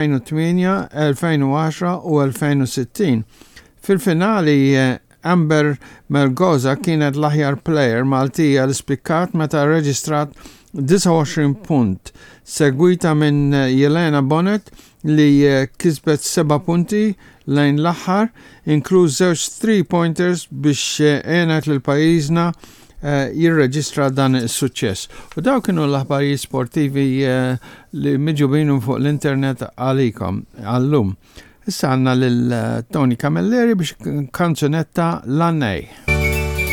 2008, 2010 u 2060. Fil-finali Amber Melgoza kienet l-aħjar plejer Maltija li spikkat meta rreġistrat 29 punt, segwita minn Jelena Bonnet li kisbet seba' punti lejn l-aħħar, inkluż żewġ three pointers biex għenet lil pajjiżna jirreġistra dan is-suċċess. U dawn kienu l-aħbarijiet sportivi li miġubin fuq l-internet għalikom għallum. Issa għandna lil Tony Camilleri biex kanzunetta l-Annej.